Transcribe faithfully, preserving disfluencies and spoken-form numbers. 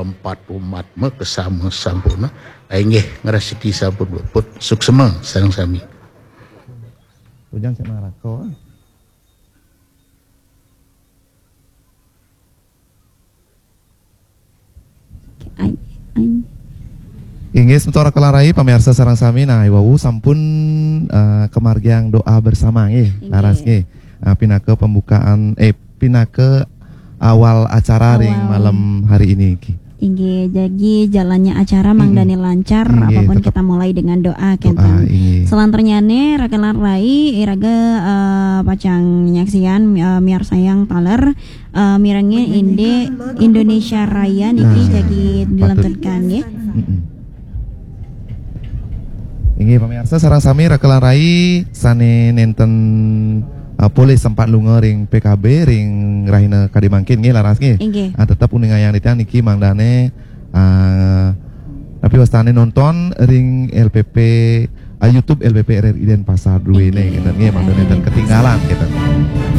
Empat umat makasama sampurna. Inggih, ngrastiti sampun puput. Suksma sareng sami. Ujang cek naraka. Ai, ai. Inggih, semeton Raka lan Rai, pamirsa sareng sami, nah, iwau sampun, eh, kamargiang doa bersama, nggih. Inggih. Laras, nggih. Ah, pinaka pembukaan, eh, pinaka awal acara ring malam hari ini, nggih. Inggih, jagi jalannya acara mangdané lancar, apapun kita mulai dengan doa, kénten. Inggih. Salanturnyane, Raka lan Rai, iraga, eh, pacang nyaksian, eh, miarsayang taler, eh, mirengin indik Indonesia Raya niki jagi dilanturkan, nggih. Inggih, pamirsa sareng sami, Raka lan Rai sané nénten, eh, polih sempat lunga ring P K B ring rahina kadi mangkin, nggih, laras, nggih. Inggih. Ah, tetep uningayang titiang niki mangdané, ah, tapi wastané nonton ring L P P, ah, YouTube L P P R R I Denpasar duéné, nggih, kénten, nggih, mangda nénten ketinggalan, kénten.